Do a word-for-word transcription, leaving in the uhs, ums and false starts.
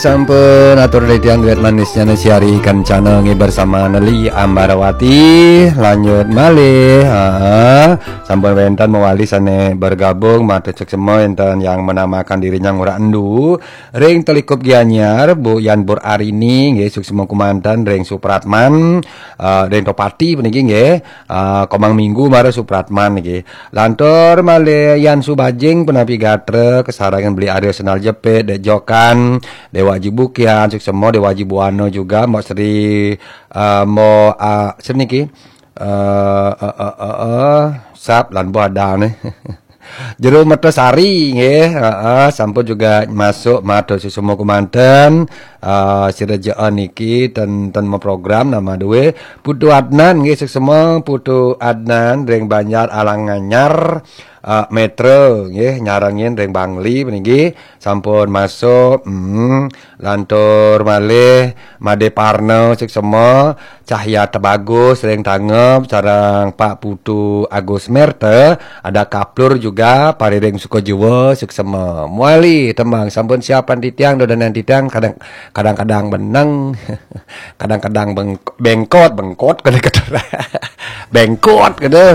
Sampun atur titiang duet manisnya nasi hari kencana nggih bersama Neli Ambarawati. Lanjut malih. Ha. Sampun wenten mawali sane bergabung, matur suksma enten yang menamakan dirinya Ngurah Endu. Ring Telikup Gianyar, Bu Yan Bur Arini nggih, suksma kumanten ring Supratman, eh, ring Topati puniki nggih. Eh, Komang Minggu mara Supratman niki. Lantur malih Yan Subajing, punapi gatra, kasarengan Beli Arya Senal Jepit, Dek Jokan, Dewa Aji Bukian, suksma Dewa Aji Buana juga, Mbok Sri, eh, Mbok, ah, Sri niki. Eh, eh, eh, eh, eh, sap lan Mbok Adang nih. Jero Mertasari nggih, heeh, sampun juga masuk matur suksma kumanten. Eh, sira jaan niki ten, ten mau program nama duwe Putu Adnan nggih, suksma Putu Adnan ring Banjar Alang Anyar, eh, Metro nggih, nyarengin ring Bangli puniki sampun masuk. Hmm, lantur malih Made Parno suksma, Cahya Tebagus ring Tangeb, sareng Pak Putu Agus Merta, ada Kaplur juga, pariring suka jiwa, suksma. Mawali tembang sampun siapan titiang, dodonan titiang, kadang, kadang-kadang beneng, kadang-kadang beng-, bengkot, bengkot, kada kata. Bengkot, kada.